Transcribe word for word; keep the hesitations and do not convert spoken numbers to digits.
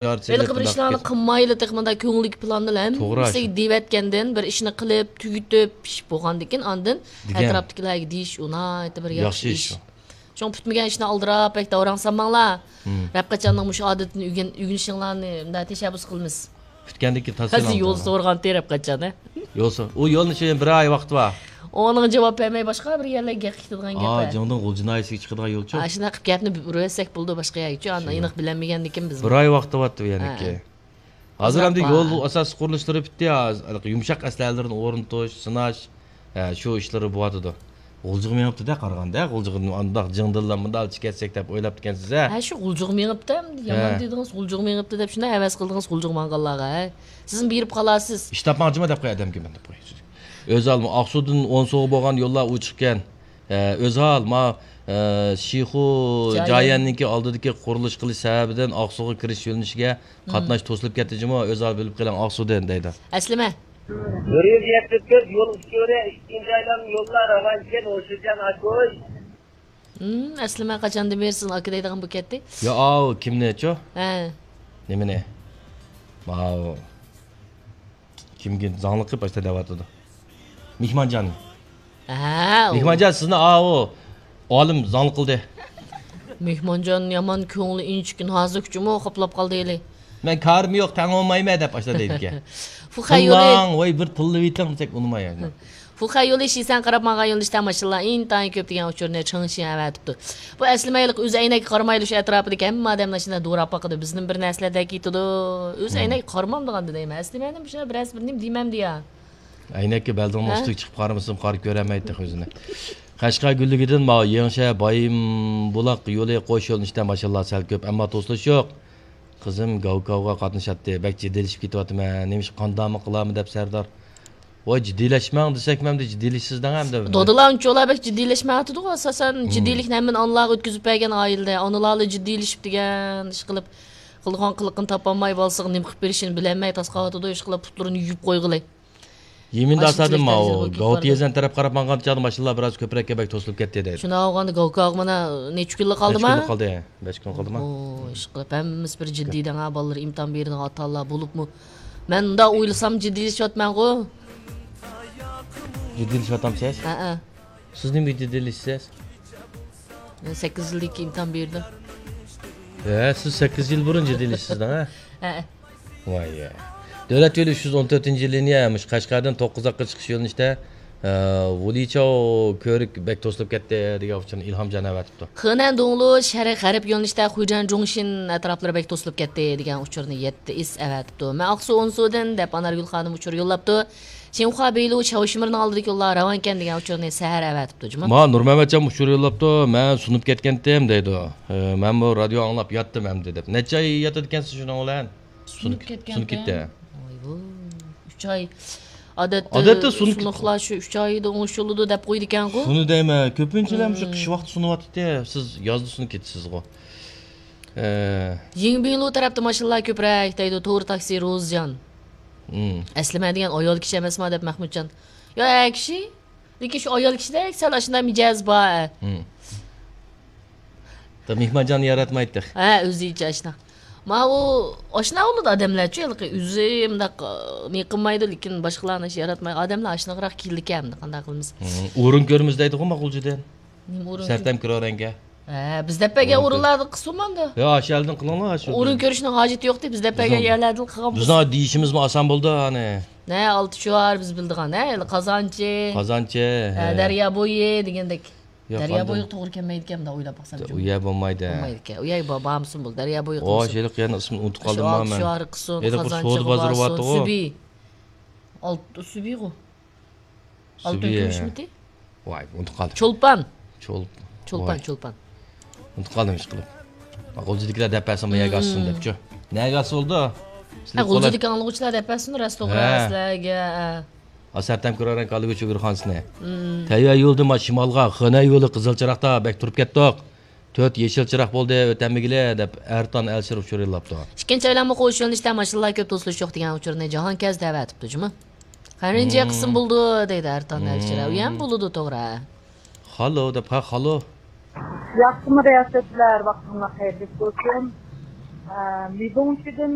ھېلىقى بىر ئىشلارنى قىلمايلا، تېخى مۇنداق كۆڭلىدىكى پىلاننى ھەممىسىگە دېيىۋەتكەندىن، بىر ئىشنى قىلىپ، تۈگىتىپ، پىشىپ بولغاندىن كېيىن، ئاندىن ئەتراپتىكىلەرگە دېيىش، ئۇ ناھايىتى بىر ياخشى ئىش. شۇڭا پۈتمىگەن ئىشنى ئالدىراپ، بەك داۋراڭ سالماڭلار. رەپقەچاننىڭ مۇشۇ ئادىتىنى ئۆگەن-، ئۆگىنىشىڭلارنى مۇنداق تەشەببۇس قىلىمىز. پۈتكەندىن كېيىن تاس. ھازىر يول سورىغانتى رەپقەچان، ھە؟ يول سور-، ئۇ يولنى شۇ بىر ئاي ۋاقتى بار. ئۇنىڭغا جاۋاب بەرمەي باشقا بىر يەرلەرگە گەپ قىلىدىغان گەپ. ئا، جىڭدىڭ غۇلجا ناھىيەسىگە چىقىدىغان يولچۇ. ئاشۇنداق قىلىپ گەپنى ئۇرۇۋەتسەك بولىدۇ، باشقا يەرگىچۇ. ئاندىن ئېنىق بىلەلمىگەندىكىن بىز. بىر ئاي ۋاقتى بارتى بۇ يەرنىكى. ھازىر ئەمدى يول ئاساسىي قۇرۇلۇشلىرى پۈتتى. ھازىر يۇمشاق ئەسلىھەلىرىنى ئورنىتىش، سىناش، ھە، شۇ ئىشلىرى بولۇۋاتىدۇ. غۇلجىغا مېڭىپتۇ-دە، قارىغاندا، غۇلجىغا ئانداق جىڭدىنلا مۇنداقچە كەتسەك دەپ ئويلاپتىكەنسىز، ھە؟ ھە، شۇ غۇلجىغا مېڭىپتۇ، يامان دېدىڭىز، غۇلجىغا مېڭىپتۇ دەپ، شۇنداق ھەۋەس قىلدىڭىز غۇلجىغا ماڭغانلارغا، ھە؟ سىزمۇ بېرىپ قالارسىز. ئىش تاپماقچىما دەپ قوي ئادەمگە مەن دەپ قوي. ئۆزھال، ئاقسۇدىن ئونسۇغا بولغان يوللار ئوچۇقكەن. ئۆزھال، ما، شىخۇ جايەننىڭكى ئالدىدىكى قۇرۇلۇش قىلىش سەۋەبىدىن ئاقسۇغا كىرىش يۆنىلىشىگە قاتناش توسۇلۇپ كەتتى جۇمۇ، ئۆزھال بىلىپ قېلىڭ ئاقسۇدىن دەيدۇ. ئەسلىمە. بىر يۈز يەتمىش تۆت يول ئۇچۇرى ئىككىنچى ئايلانما يوللار راۋان ئىكەن، ھوشۇرجان ئاكوي. ھىم، ئەسلىمە قاچاندىن بېرى سىزنى ئاكا دەيدىغان بولۇپ كەتتى؟ يا، ئاۋۇ كىمنىچۇ؟ ھە. نېمىنى؟ ماۋۇ. كىمگە زاڭلىق قىلىپ ئاشتا دەۋاتىدۇ. مېھمانجان. ھە، ئۇ. مېھمانجان، سىزنى ئاۋۇ ئالىم زاڭلىق قىلدى. مېھمانجان يامان كۆڭلى ئىنچىكە نازۇكچىمۇ، قاپلاپ قالدى ھېلى. مەن كارىم يوق، تەڭ بولمايمەن دەپ ئاشتا دەيدىكەن. فۇخەي يولى. تىللاڭ، ۋاي، بىر تىللىۋېتىڭ دېسەك ئۇنىماي. فۇخەي يولى شىسەن قاراپ ماڭغان يۆنىلىشتە ماشىنىلار ئىنتايىن كۆپ دېگەن ئۇچۇرنى چېڭشىن ئەۋەتىپتۇ. بۇ ئەسلىمە ھېلىقى ئۆز ئەينەككە قارىمايلا شۇ ئەتراپىدىكى ھەممە ئادەمنى ئاشۇنداق دوراپ باقىدۇ. بىزنىڭ بىر نەرسىلەر دەكىتىدۇ. ئۆز ئەينەككە قارىمامدىغاندۇ دەيمەن. ئەسلىمەنىڭ شۇنداق بىرەرسى بىر نېمە دېمەمدۇ يا؟ ئەينەككە بەلدىڭنىڭ ئۈستىگە چىقىپ قارىمىسام قارا كۆرەلمەيتتى ئۆزىنى. قەشقەر گۈللۈكىدىن ماۋۇ يېڭىشەھەر بايىنبۇلاق يولى قوش يۆنىلىشتە ماشىنىلار سەل كۆپ، ئەمما توسۇلۇش يوق. قىزىم گاۋكاۋغا قاتنىشاتتى. بەك جىددىيلىشىپ كېتىۋاتىمەن. نېمىشقا قانداقمۇ قىلارمۇ دەپ سەردار. ۋاي، جىددىيلەشمەڭ دېسەكمۇ ئەمدى جىددىيلىشىسىز دەڭ ئەمدى. دادىلار ئۇنچىۋالا بەك جىددىيلەشمەيۋاتىدىغۇ ئاساسەن. جىددىيلىكنى ھەممىنى ئانىلارغا ئۆتكۈزۈپ بەرگەن ئائىلىدە. ئانىلارلا جىددىيلىشىپ دېگەن ئىش قىلىپ، قىلىدىغان قىلىقىنى تاپالماي، بالىسىغا نېمە قىلىپ بېرىشىنى بىلەلمەي تاسقاۋاتىدۇ، ئىش قىلىپ پۇتلىرىنى يۇيۇپ قويغىلى. يېمىندا ئاشۇ ئاسادىم ماۋۇ. گاۋتى يېزىنى تەرەپ قاراپ ماڭغان چاغدا ماشىنىلار بىراز كۆپرەككە بەك توسۇلۇپ كەتتى دەيدۇ. شۇنداق بولغاندا گاۋكاغا مانا نەچچە كۈنلا قالدىما؟ نەچچە كۈنلا قالدى. بەش كۈن قالدىما؟ ئوي، ئىشقىلىپ ھەممىسى بىر جىددىي دەڭ ھە، بالىلىرى ئىمتىھان بېرىدىغان ئاتا-ئانىلار بولۇپمۇ. مەن مۇنداق ئويلىسام جىددىيلىشىۋاتىمەنغۇ. جىددىيلىشىۋاتامسىز؟ ھەئە. سىز نېمىگە جىددىيلىشىسىز؟ مەن سەككىز يىلدىن كېيىن ئىمتىھان بېرىدۇ. ھە، سىز سەككىز يىل بۇرۇن جىددىيلىشىسىز دەڭ ھە؟ ھەئە. ۋاي يە. دۆلەت يولى ئۈچ يۈز ئون تۆتىنچى لىنىيە، مۇشۇ قەشقەردىن توققۇزاققا چىقىش يۆنىلىشتە، ئە، ۋۇلىچاۋ كۆۋرۈك بەك توسۇلۇپ كەتتى دېگەن ئۇچۇرنى ئىلھامجان ئەۋەتىپتۇ. خېنەن دوڭلۇ شەرق غەرب يۆنىلىشتە خۇيجەن جۇڭشىن ئەتراپلىرى بەك توسۇلۇپ كەتتى دېگەن ئۇچۇرنى يەتتە ئىس ئەۋەتىپتۇ. مەن ئاقسۇ ئونسۇدىن دەپ ئانارگۈل خانىم ئۇچۇر يوللاپتۇ. شىنخۇا بېيلۇ چاۋشىمىرنىڭ ئالدىدىكى يوللار راۋانكەن دېگەن ئۇچۇرنى سەھەر ئەۋەتىپتۇ جۇمۇ. ما نۇرمەمەتجان ئۇچۇر يوللاپتۇ، مەن سۇنۇپ كەتكەنتىم دەيدۇ. ئە، مەنمۇ رادىيو ئاڭلاپ ياتتىم ئەمدى دەپ. نەچچە ئاي ياتىدىكەنسىز شۇنىڭ بىلەن؟ سۇنۇپ كەتكەن. سۇنۇپ كەتتى. ۋايۋو. ئۈچ ئاي. ئادەتتە ئادەتتە سۇنۇپ سۇنۇقلار شۇ ئۈچ ئايدا ئوڭشىلىدۇ دەپ قويىدىكەنغۇ. سۇنى دەيمەن، كۆپىنچىلەر مۇشۇ قىش ۋاقتى سۇنۇۋاتىدۇ. سىز يازدا سۇنۇپ كېتىسىزغۇ. ئە. يىڭبىلۇ تەرەپتە ماشىنىلار كۆپرەك دەيدۇ، تور تاكسى روزجان. ئەسلىمە دېگەن ئايال كىشى ئەمەسما دەپ مەھمۇتجان. يا ئەر كىشى. لېكىن شۇ ئايال كىشىدەك سەل ئاشۇنداق مىجەز بار. مېھمانجاننى ياراتمايتتى. ھە، ئۆزىچە ئاشۇنداق. ماۋۇ ئاشۇنداق بولىدۇ ئادەملەرچۇ، ھېلىقى ئۆزى مۇنداق، ئى، نېمە قىلمايدۇ، لېكىن باشقىلارنى ياراتمايدۇ. ئادەملەر ئاشۇنداقراق كېلىدىكەن، قانداق قىلىمىز؟ ئورۇن كۆرىمىز دەيدىغۇ ماقۇلجىدىن. نېمە ئورۇن؟ سەرتەم كىرورەنگە. ھە، بىز دەپ بەرگەن ئورۇنلاردا قىلسۇن ماندا. يا، ئاشۇ يەردىن قىلىڭلار، ئاشۇ. ئورۇن كۆرۈشنىڭ ھاجىتى يوقتى، بىز دەپ بەرگەن يەرلەردىن قىلغان بولسا. بىزنىڭ دېيىشىمىزمۇ ئاسان بولدى، ئانى. نە، ئالتە شوئار بىز بىلىدىغان، نە، قازانچى. قازانچى. ھە، دەريا بويى دېگەندەك. دەريا بويىغا توغرا كەلمەيدىكەن، مۇنداق ئويلاپ باقسام. ئۇ يەر بولمايدۇ. بولمايدىكەن. ئۇ يەرگە بار-، بارمىسۇن بولدى، دەريا بويى قىلمىسۇن. ھېلىقى يەرنىڭ ئىسمىنى ئۇنتۇپ قالدىم مەن. ئالتە شوئارغا قىلسۇن، قازانچىغا بارسۇن، سۈبى. ئالتە، سۈبىغۇ. ئالتۇن كۈمۈشمىتى؟ ۋاي، ئۇنتۇپ قالدىم. چولپان. چول-، چولپان، ۋاي. چولپان. ئۇنتۇپ قالدىم ئىشقىلىپ. غۇلجىدىكىلەر دەپ بەرسۇن، بۇ يەرگە ئاسسۇن دەپچۇ. نەگە ئاسسا بولىدۇ؟ ھە، غۇلجىدىكى ئاڭلىغۇچىلار دەپ بەرسۇن، راست توغرا سىلەرگە. ھە. ئاسەرتەم كۆرەرەن كالىگۈچ ئۆگرىخانىسىنى. تەيۋەن يولىدىن ما شىمالغا، خېنەن يولى قىزىل چىراغدا بەك تۇرۇپ كەتتۇق. تۆت يېشىل چىراغ بولدى، ئۆتەلمىگىلى دەپ ئەرتان ئەلشىر ئۇچۇر يوللاپتۇ. ئىككىنچى ئايلانما قوش يۆنىلىشتە ماشىنىلار كۆپ توسۇلۇش يوق دېگەن ئۇچۇرنى جاھانكەز دەۋەتىپتۇ جۇمۇ. قەرەنجى قىلسىمۇ بولىدۇ دەيدۇ ئەرتان ئەلشىر. ئۇ يەنە بولىدۇ توغرا. خالو دەپ، ھە، خالو. ياخشىمۇ رىياسەتچىلەر، ۋاقتىڭلار خەيرلىك بولسۇن. مېدوڭچىدىن